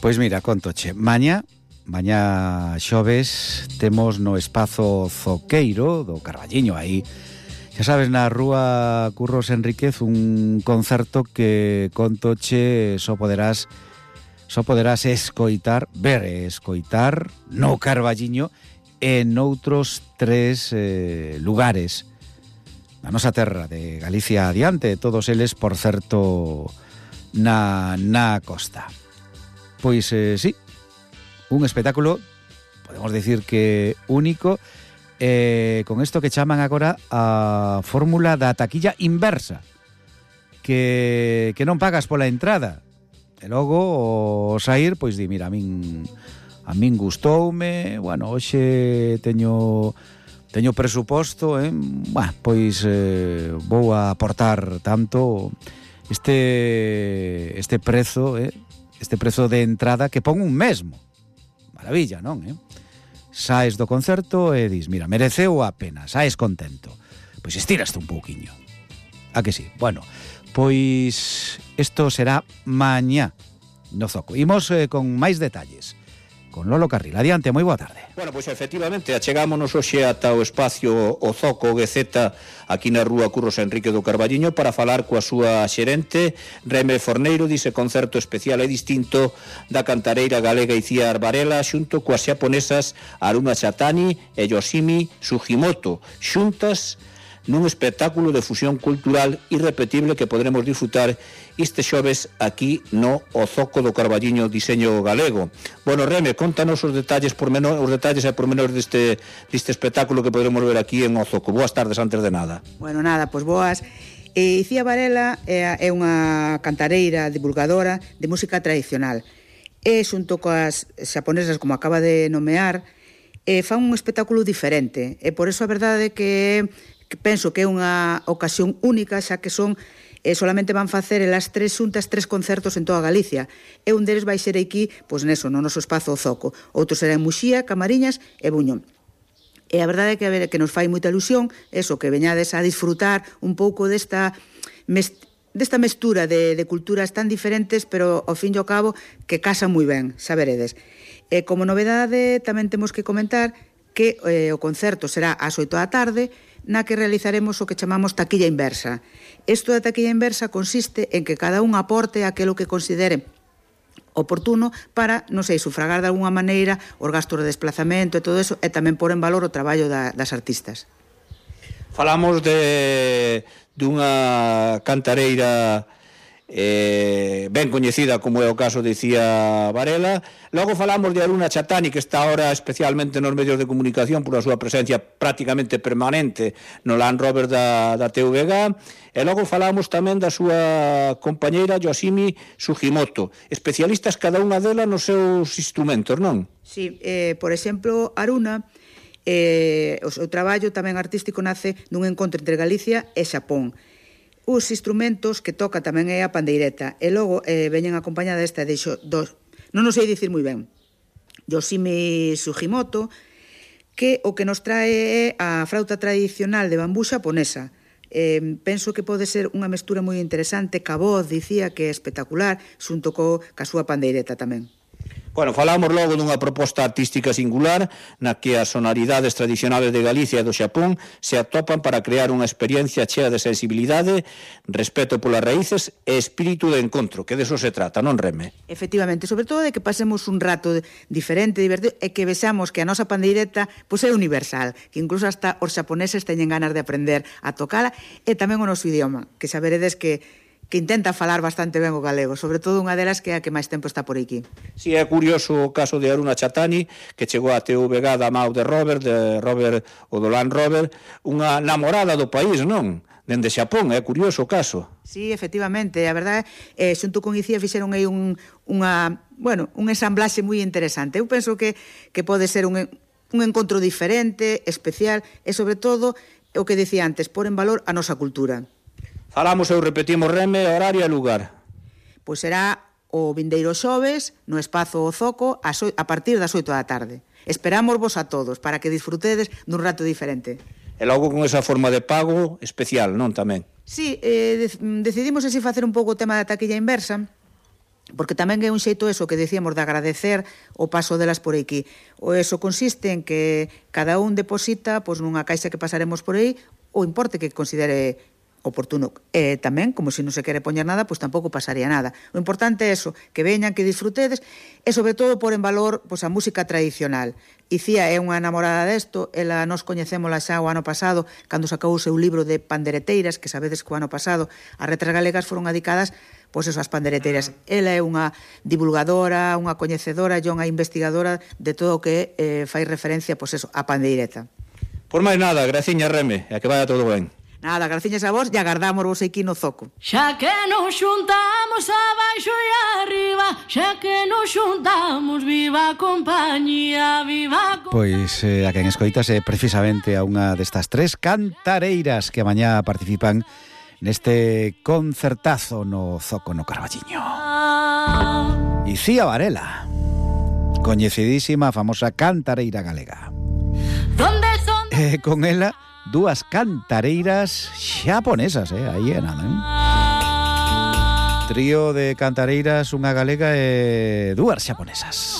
Pois mira, contoche, mañá xoves temos no espazo Zoqueiro do Carballiño aí, xa sabes, na rúa Curros Enríquez, un concerto que contoche só poderás escoitar no Carballiño e noutros 3 lugares na nosa terra de Galicia adiante, todos eles, por certo, na costa. Pois sí, un espectáculo, podemos decir que único, con isto que chaman agora a fórmula da taquilla inversa, que non pagas pola entrada, e logo o sair, pois di, mira, a min gustoume, bueno, hoxe teño presuposto, pois vou a aportar tanto este prezo, este prezo de entrada que pon un mesmo. Maravilla, non? Saes do concerto e dis, mira, mereceu a pena, saes contento. Pois estiraste un pouquiño. A que sí? Bueno, pois isto será mañá no Zoco. Imos con máis detalles con Lolo Carril. Adiante, moi boa tarde. Bueno, pois efectivamente, achegámonos hoxe ata o espacio o Zoco GZ aquí na rúa Curros Enrique do Carballiño para falar coa súa xerente Reme Forneiro dise concerto especial e distinto da cantareira galega Icía Varela xunto coas xaponesas Haruna Chatani e Yoshimi Sugimoto, xuntas nun espectáculo de fusión cultural irrepetible que podremos disfrutar este xoves aquí no O Zoco do Carballiño Diseño Galego. Bueno, Reme, contanos os detalles e pormenores deste espectáculo que podremos ver aquí en O Zoco. Boas tardes, antes de nada. Bueno, nada, pois boas. Icía Varela é unha cantareira divulgadora de música tradicional. E xunto coas xaponesas, como acaba de nomear, fan un espectáculo diferente. E por iso a verdade que penso que é unha ocasión única, xa que solamente van facer elas 3 xuntas 3 concertos en toda Galicia, e un deles vai ser aquí, pois neso, no noso espazo O Zoco. Outro será en Muxía, Camariñas e Buño. E a verdade é que nos fai moita ilusión eso, que veñades a disfrutar un pouco desta mestura de culturas tan diferentes, pero ao fin e ao cabo que casan moi ben, xa veredes. E como novedade tamén temos que comentar que o concerto será ás 8 da tarde, na que realizaremos o que chamamos taquilla inversa. Isto da taquilla inversa consiste en que cada un aporte aquilo que considere oportuno para, non sei, sufragar de alguna maneira os gastos de desplazamento e todo eso, e tamén pôr en valor o traballo das artistas. Falamos dunha cantareira ben coñecida, como é o caso de Icía Varela. Logo falamos de Haruna Chatani, que está ahora especialmente nos medios de comunicación por a súa presencia prácticamente permanente no Land Rover da TVG, e logo falamos tamén da súa compañeira Yoshimi Sugimoto, especialistas cada unha delas nos seus instrumentos, non? Sí, por exemplo, Haruna, o seu traballo tamén artístico nace nun encontro entre Galicia e Xapón. Os instrumentos que toca tamén é a pandeireta, e logo veñen acompañada esta non o sei dicir moi ben, Yoshimi Sugimoto, que o que nos trae é a frauta tradicional de bambú xaponesa. Penso que pode ser unha mestura moi interesante, ca voz, dicía, que é espectacular, xunto ca súa pandeireta tamén. Bueno, falamos logo dunha proposta artística singular na que as sonoridades tradicionales de Galicia e do Xapón se atopan para crear unha experiencia chea de sensibilidade, respeto polas raíces e espírito de encontro, que deso se trata, non, Reme? Efectivamente, sobre todo de que pasemos un rato diferente, divertido, e que vexamos que a nosa pandeireta pois é universal, que incluso hasta os xaponeses teñen ganas de aprender a tocala, e tamén o noso idioma, que xa veredes que intenta falar bastante ben o galego, sobre todo unha delas que é a que máis tempo está por aquí. Si, é curioso o caso de Haruna Chatani, que chegou a TVG da Mau de Robert o do Land Rover, unha namorada do país, non? Dende Xapón, é curioso o caso. Sí, efectivamente, a verdade, xunto con Icía fixeron aí un ensamblaxe moi interesante. Eu penso que pode ser un encontro diferente, especial, e sobre todo, o que dicía antes, pôr en valor a nosa cultura. Falamos e repetimos, Reme, horario e lugar. Pois será o vindeiro xoves no espazo O Zoco a partir das 8 da tarde. Esperámosvos a todos para que disfrutedes dun rato diferente. E logo con esa forma de pago especial, non, tamén? Sí, decidimos así facer un pouco o tema da taquilla inversa, porque tamén é un xeito eso que decíamos de agradecer o paso delas por aquí. O eso consiste en que cada un deposita pois, nunha caixa que pasaremos por aí o importe que considere oportuno. Tamén, como se non se quere poñer nada, pois tampouco pasaría nada. O importante é eso, que veñan, que disfrutedes, e sobre todo por en valor pois, a música tradicional. Icía é unha enamorada desto, ela nos coñecémola xa o ano pasado, cando sacou o seu libro de pandereteiras, que sabedes que o ano pasado as letras galegas foron dedicadas pois eso, as pandereteiras. Ela é unha divulgadora, unha coñecedora e unha investigadora de todo o que fai referencia pois eso, a pandeireta. Por máis nada, graciña Reme, e a que vaya todo ben. Nada, graciñas a vos e agardamos vos aquí no Zoco. Xa que nos xuntamos abaixo e arriba, xa que nos xuntamos, viva a compañía, viva a compañía. Pois a quen escoitase precisamente a unha destas tres cantareiras que mañá participan neste concertazo no Zoco no Carballiño. Icía Varela, coñecidísima, famosa cantareira galega. Con ela, dúas cantareiras xaponesas, aí é nada, Trío de cantareiras, unha galega e dúas xaponesas.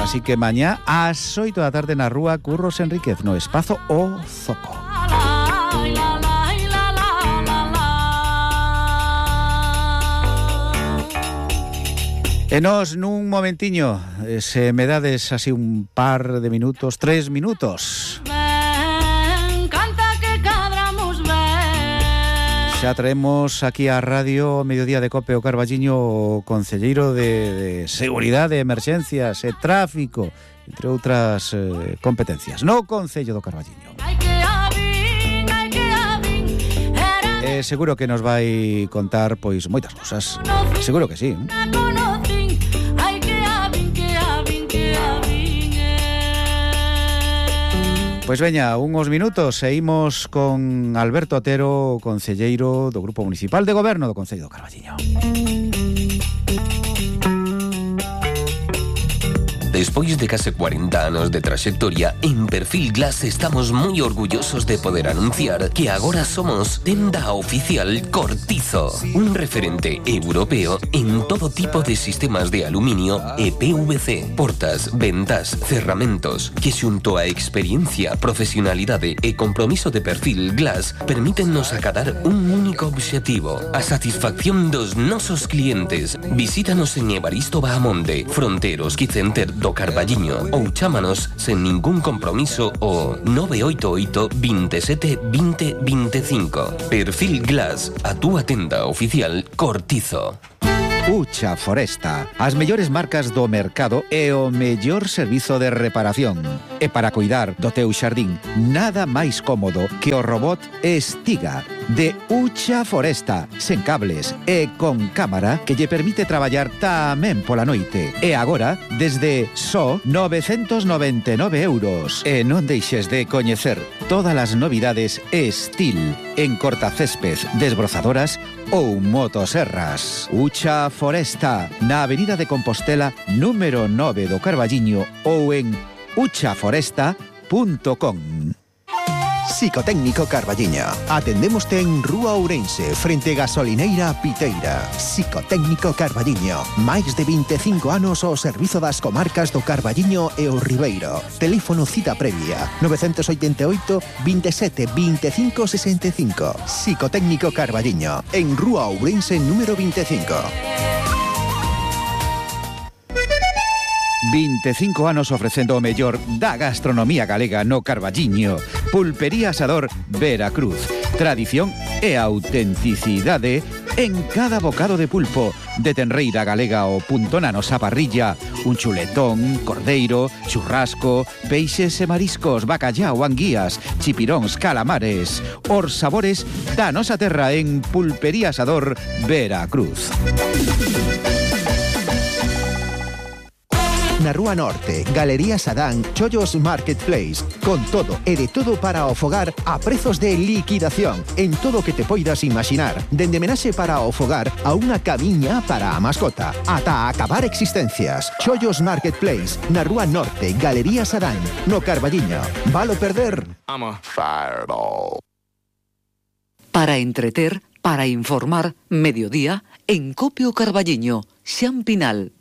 Así que mañá ás 8 da tarde na rúa Curros Enríquez, no espazo O Zoco. E nos nun momentiño, se me dades así un par de minutos, 3 minutos, xa traemos aquí a Radio Mediodía de Cope o Carballiño o concelleiro de Seguridade, Emerxencias e Tráfico, entre outras competencias, no Concello do Carballiño. Seguro que nos vai contar pois moitas cousas, seguro que sí. Pois veña, unhos minutos e imos con Alberto Otero, concelleiro do Grupo Municipal de Goberno do Concello do Carballiño. Despois de case 40 anos de traxectoria, en Perfil Glass estamos moi orgullosos de poder anunciar que agora somos tenda oficial Cortizo, un referente europeo en todo tipo de sistemas de aluminio e PVC, portas, ventas, cerramentos, que xunto a experiencia, profesionalidade e compromiso de Perfil Glass permítennos acadar un único obxectivo, a satisfacción dos nosos clientes. Visítanos en Evaristo Bahamonde, Fronteros Quicenter do Carballiño ou chámanos sen ningún compromiso o 988 27 20 25. Perfil Glass, a túa tenda oficial Cortizo. Ucha Foresta, as mellores marcas do mercado e o mellor servizo de reparación. E para cuidar do teu xardín, nada máis cómodo que o robot Estiga de Ucha Foresta, sen cables e con cámara que lle permite traballar tamén pola noite. E agora, desde só 999 €. E non deixes de coñecer todas as novidades Estil en cortacésped, desbrozadoras ou motoserras. Ucha Foresta, na Avenida de Compostela, número 9 do Carballiño ou en uchaforesta.com. Psicotécnico Carballiño. Atendémoste en Rúa Ourense, frente Gasolineira Piteira. Psicotécnico Carballiño. Máis de 25 anos ao servizo das comarcas do Carballiño e o Ribeiro. Teléfono cita previa 988 27 25 65. Psicotécnico Carballiño, en Rúa Ourense número 25. 25 anos ofrecendo o mellor da gastronomía galega no Carballiño. Pulpería Asador Veracruz. Tradición e autenticidade en cada bocado de pulpo. De tenreira galega o punto na nosa parrilla. Un chuletón, cordeiro, churrasco, peixes e mariscos, bacallao, anguías, chipiróns, calamares. Os sabores da nosa terra en Pulpería Asador Veracruz. na Rúa Norte, Galería Sadán, Chollos Marketplace. Con todo e de todo para o fogar a prezos de liquidación en todo o que te poidas imaginar. Dende menaxe para o fogar a unha camiña para a mascota. Ata acabar existencias. Chollos Marketplace, na Rúa Norte, Galería Sadán, no Carballiño. Valo perder? I'm a fireball. Para entreter, para informar, mediodía, en Copio Carballiño, Xan Pinal.